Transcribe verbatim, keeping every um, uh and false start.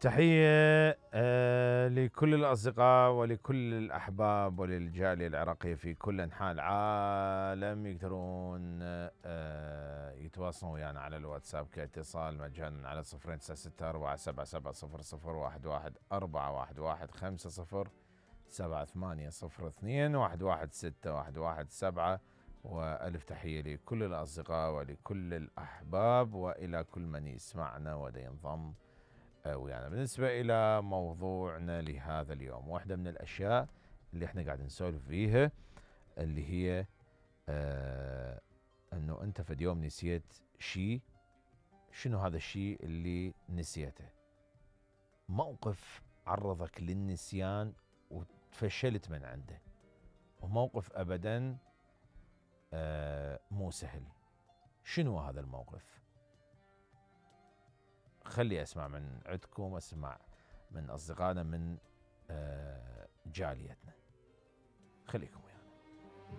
تحية آه لكل الأصدقاء ولكل الأحباب وللجالية العراقية في كل أنحاء العالم. يقدرون آه يتواصلون ويانا على الواتساب كاتصال مجانا على صفرين تسعة ستة أربعة سبعة سبعة صفر صفر واحد واحد أربعة واحد واحد خمسة صفر سبعة ثمانية صفر اثنين واحد واحد ستة واحد واحد سبعة. وألف تحية لكل الأصدقاء ولكل الأحباب وإلى كل من يسمعنا ودا ينضم ويانا. بالنسبة إلى موضوعنا لهذا اليوم، واحدة من الأشياء اللي احنا قاعد نسولف فيها اللي هي آه أنه أنت في اليوم نسيت شيء. شنو هذا الشيء اللي نسيته؟ موقف عرضك للنسيان وتفشلت من عنده، وموقف أبدا آه مو سهل. شنو هذا الموقف؟ خلي أسمع من عندكم، أسمع من أصدقائنا من آه جاليتنا. خليكم ويانا.